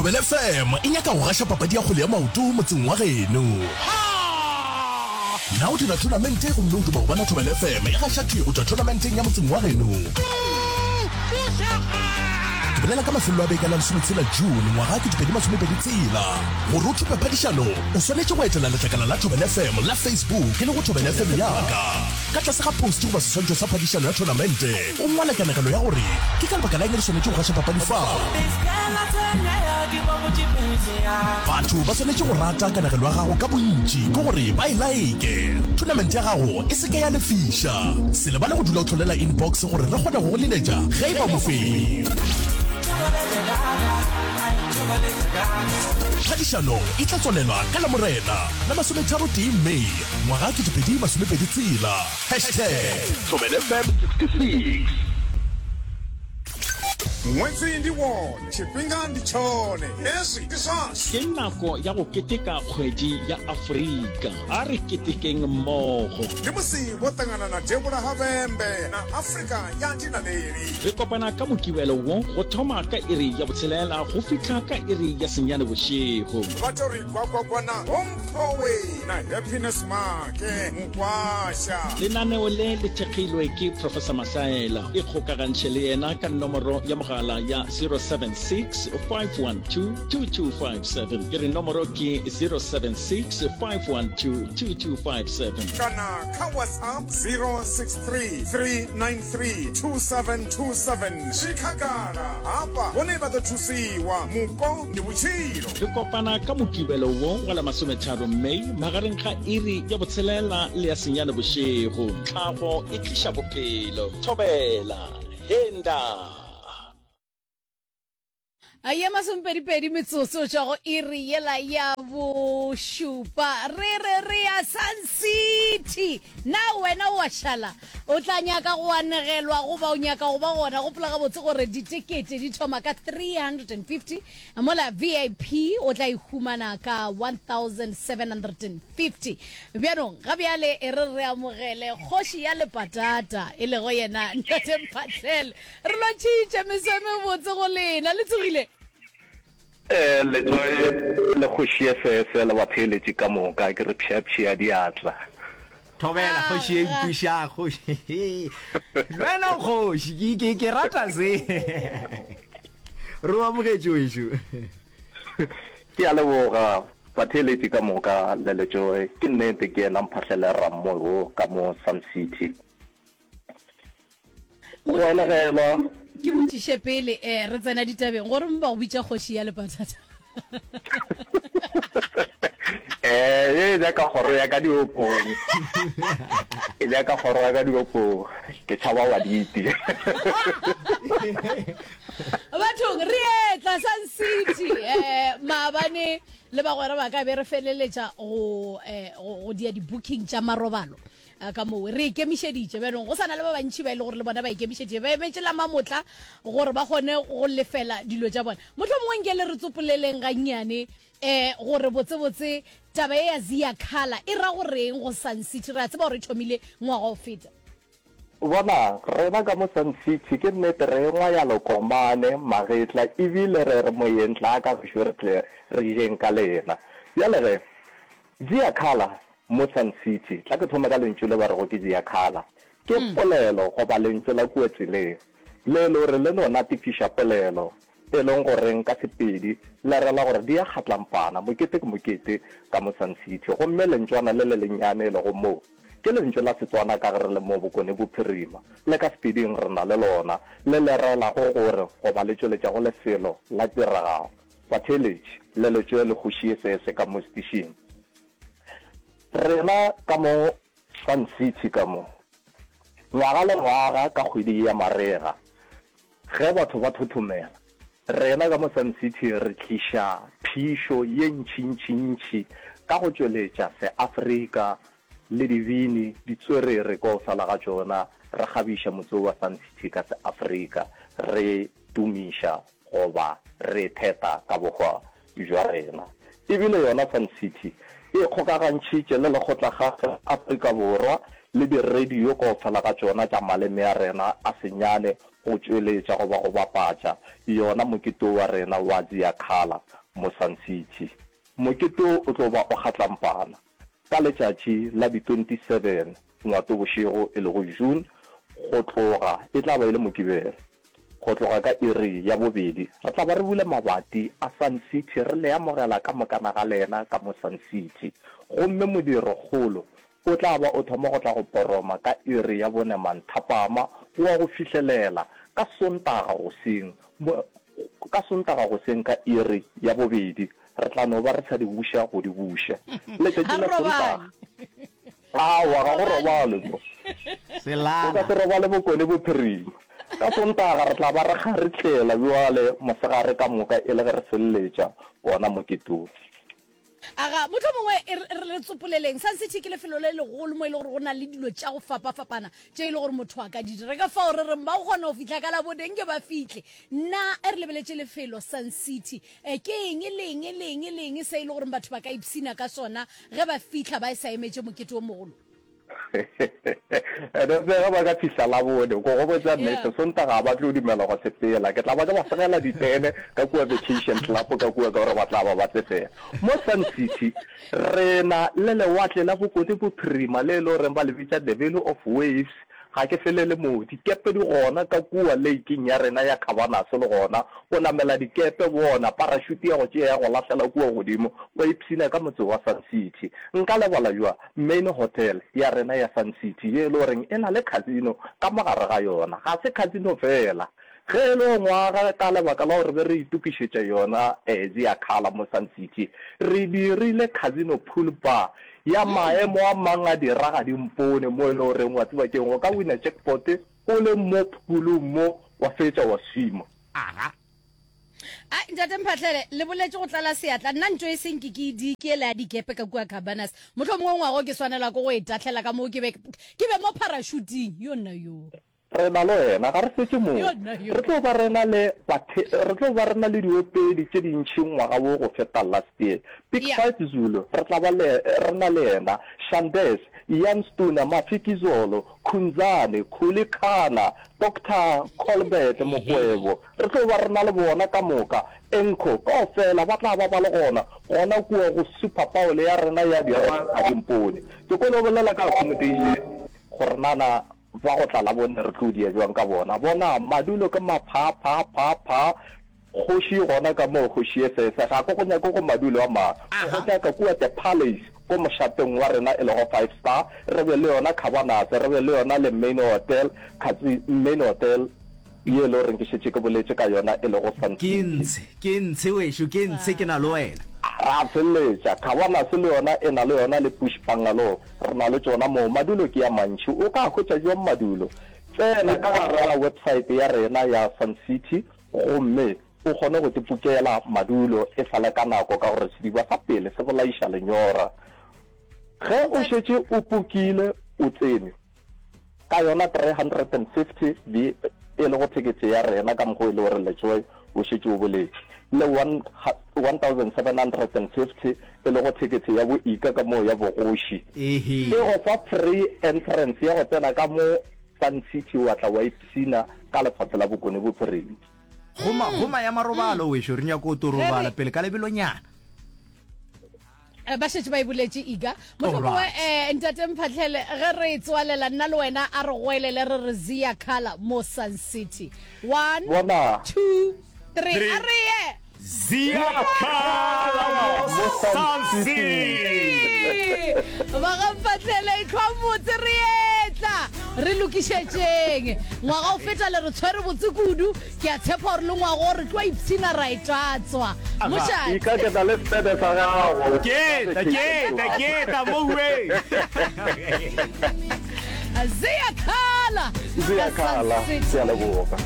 Thobela FM e nyaka go gaša papadi ya kgwele ya maoto motseng wa geno. Na o dira thonamente gomme o duma go bona Thobela FM e gaša thwi go tšwa thonamenteng ya motseng wa geno? Ke bolela ka mafelelo a beke a la lesometshela June ngwaga 2026. Gore o thope phadišano, o swanetše go etela letlakala la Thobela FM la Facebook e lego Thobela FM ya ka. Ka tlase ga post goba seswantšho sa phadišano ya thonamente, o ngwale kanegelo ya gore ke ka lebaka la eng re swanetše go gaša papadi fao. Batho ba swanetše go rata kanegelo ya gago ka bontši ke gore ba e laeke. Thonamente ya gago e se ke ya lefiša. Se lebale go dula o hlolela inbox gore re kgone go go leletša ge e ba o mofenyi. Phadišano e tla tswalelwa ka Lamorena la masometharotee May ngwaga 2026. Hashtag ThobelaFM 66. Ṅwedzi ndi wone, tshifhinga ndi tshone, hezwi ndi zwashu. Ke nako ya go keteka Kgwedi ya Afrika. A re ketekeng mmogo. Ndi musi vho ṱangana na Devhula ha Vhembe na Afrika ya Dinaleli. Re kopana ka Mokibelo wo go thoma ka iri ya botshelela go fihla ka iri ya senyane bošego. Vha tou ri gwagwagwa na Vho Mphowe na Happiness Maake Mukwasha. Lenaneo le le thekgilwe ke Professor Masaela. Ikgokagantšhe le yena ka nomoro ya mogala ya 076 512 2257. Ke re nomoro ke 076 512 2257. Kana kha WhatsApp 063 393 2727. Zwi khagala hafha vhone vha ḓo thusiwa. Mupo ndi vhutshilo. Re kopana ka Mokibelo wo wa la masometharo May magareng ga iri ya botshelela le ya senyane bošego. Tlhago e tliša bophelo. Thobela. Henda. Ye masomepedipedi metsotso tšwa go iri yela ya bošupa. Re re re ya Sun City. Na wena o a šala? O tla nyaka go anegelwa goba o nyaka go ba gona? Gopola gabotse gore ditekete di thoma ka 350 mola VIP o tla e humana ka 1750. Bjanong ga bjale e re re amogele kgoši ya lepatata e lego yena Ntate Mphahlele. Re lotšhitše meso e mebotse go lena. Le tsogile? Eh, Letsoe le kgoši ye sese le batheeletši ka moka, ke re pšheapšhea diatla. Thobela kgoši ye mpuša kgoši. Le wena o kgoši, ke, ke, ke rata se. Re o amogetše wešo. Ke a leboga batheeletši ka moka le Letsoe. Ke nnete ke yena Mphahlele Rammoe wo ka mo Sun City. Go anagelwa. Ke botšiše pele eh, re tsena ditabeng gore ba go bitša kgoši ya lepatata. Eh, e ja ka kgoro ya ka diopong. E ja ka kgoro ya ka diopong. Ke tšhaba wa diti. Bathong re etla Sun City eh maabane le bagwera ba ka be re feleletša go eh go dia di-booking tša marobalo. Ka moo re ikemišeditše. Bjanong go sa na le ba bantši ba e le gore le bona ba ikemišeditše, ba emetše la mamotla gore ba kgone go lefela dilo tša bona. Mohlomongwe nke le re tsopoleleng gannyane um gore botsebotse taba ye ya Ziyakhala e ra goreng go Sun City. Re a tseba gore e thomile ngwaga o feta. Bona, rena ka mo Sun City ke nnete re engwa ya lekomane, magetla, ebile re re moyeng tlaa ka gešo re tle re jeng ka lena. Bjale ge, Ziyakhala Mo Sun City, tla ke thome ka lentšu le ba rego ke Ziyakhala. Ke polelo goba lentšu la kua tseleng, le e le gore le no natefiša polelo, e leng goreng ka Sepedi le rela gore di a kgatlampana, mokete ke mokete ka mo Sun City. Gomme lentšwana le le lennyane e lego moo, ke lentšu la Setswana ka ge re le mo Bokone Bophirima, le ka Sepeding re na le lona, le le relago gore goba le tšweletšago lefelo la tiragalo. Batheeletši, le le tšwe le kgoši se se ka mo setišing. Rena ka mo Sun City ka mo, ngwaga le ngwaga ka kgwedi ya marega, ge batho ba thothomela, rena ka mo Sun City re tliša phišo ye ntšintšintši ka go tšweletša Seafrika le dibini, ditswerere kaofela ga tšona, re kgabiša motse wo wa Sun City ka Seafrika, re tumiša goba re theta ka bohwa bja rena. E bile yona Sun City e ikgokagantšhitše le Lekgotlakgašo la Afrika Borwa le diradio kaofela ga tšona tša maleme a rena a senyane go tšweletša goba go bapatša yona mokete wo wa rena wa Ziyakhala mo Sun City. Mokete wo o tlo ba o kgatlampana ka letšatši la di 27 Ngwatobošego e lego June go tloga e tla ba e le Mokibelo. Go tloga ka iri ya bobedi, re tla ba re bula mabati a Sun City re le amogela ka mokana ga lena ka mo Sun City. Gomme modirokgolo o tla ba o thoma go tla go poroma ka iri ya bone manthapama go wa go fihlelela ka Sontaga goseng, ka Sontaga goseng ka iri ya bobedi. Re tla no ba re sa di buša go di buša. Letšatši la Sontaga. Aowa, ga go robalwe mo. O ka se robale Bokone Bophirima. Ka Sontaga re tla ba re kgaritlela bjale mosegare ka moka e le ge re feleletša wona mokete wo. Aga, mohlomongwe e re, re tsopoleleng. Sun City ke lefelo le legolo mo e le gore go na le dilo tša go fapafapana tše e le gore motho a ka di dira. Ka fao re reng ba go kgona go fihla ka Labone nke ba fihle. Na e re lebeletše lefelo Sun City, E, ke eng le eng le eng le eng se e le gore batho ba ka ipshina ka sona ge ba fihla ba e sa emetše mokete o mogolo? Ene se ge ba ka fihla Labone, ko go botša nnete, Sontaga ga ba tlo dumela go sepela. Ke tla ba ke ba segela ditene ka kua Vacation Club ka kua ka gore ba tla ba ba tsefela. Mo Sun City, re na le lewatle la Bokone Bophirima le e le goreng ba le bitša the Valley of Waves. Ga ke felele moo. Dikepe di gona ka kua leiking ya rena ya Cabanas le gona. O namela dikepe, bona parašuti ya go tšea ya go lahlela kua godimo, wa ipshina ka motse wa Sun City. Nka lebala bjang Main Hotel ya rena ya Sun City ye e le goreng e na le casino ka mo gare ga yona. Ga se casino feela. Ge e le ngwaga ka lebaka la gore re be re itokišetša yona Ziyakhala mo Sun City, re dirile casino pool bar ya maemo a mang a diragadimpone mo e le goreng wa tseba ke'ng, o ka wina jackpot o le mo phulung mo wa fetša wa swima. Aga. Ai, Ntate Mphahlele, le boletše go tlala seatla. Nna ntšo e seng ke ke e di ke ele ya dikepe ka kua Cabanas. Mohlomongwe ngwago ke swanelwa ke go e tahlela ka moo ke be ke be mo parašuting. Yo nna yo. Re na le wena, ga re fetše moo. Re tlo ba re na le bathe, re tlo ba re na le diopedi tše dintši ngwaga wo go feta last year. Big Five Zulu, re tla ba le, re na le yena, Shandes, Ian Stuna, Mafikizolo, Khunzane, Khuli Khana, Doctor Colbert Mokwebo, re tlo ba re na le bona ka moka. Enco, kaofela ba tla ba ba le gona, gona kua go Super Bowl ya rena ya Diragadimpone. Ke kwele o bolela ka accommodation, gore nana Ba go tla Labone re tlo dia bjang ka bona? Bona, madulo ke maphaa-phaa-phaa-phaa, kgoši e gona ka moo, kgoši ye sese. Ga ke go nyake go madulo a mang. Ke go nyaka kua The Palace, ko mošateng wa rena e lego Five Star, re be le yona Cabanas, re be le yona le Main Hotel, Katse, Main Hotel ye e le goreng ke šetše ke boletše ka yona e lego Sun Ke City. ntshe, ke ntshe wešo, ke ntshe, ke na le wena. Ra feleletša. Cabanas le yona e na le yona le Bush Bungalow. Re na le tšona moo. Madulo ke a mantši. O ka hwetša bjang madulo? Tsena ka gare ga websaete ya rena ya Sun City gomme o kgone go tipokela madulo e sa le ka nako ka gore sediba sa pele se bolaiša lenyora. Ge o šetše o pokile, o tsene. Ka yona 350 be e lego thekethe ya rena ka mokgwa o e le gore Letsoe o šetše o boletše, le 1750 e lego thekethe ya bo Ika ka moo ya bogoši. E go fa free entrance ya go tsena ka mo Sun City wa tla wa ipshina ka lefase la Bokone Bophirima. Goma, goma ya marobalo wešo, re nyako to robala pele ka lebelonyana. Eh, ba šetše ba e boletše iga mohlomongwe um ntate mphatlhele ge re e tswalela nna le wena a re goelele re re zia color mo sun city one two three a re ye Zia Color mo Sun City ba ga mphatlhele e tlhwa motse re etla re lokišetšeng ngwaga o feta le re tshwere botse kudu Ke a tshepa gore le ngwago re tlo ipshina ra e tlatswa. Mošate. Ika ke tla le sebe sa gago. Ke tla, ke tla, ke tla mo uweng. Ziyakhala. Ziyakhala. Ke a leboga.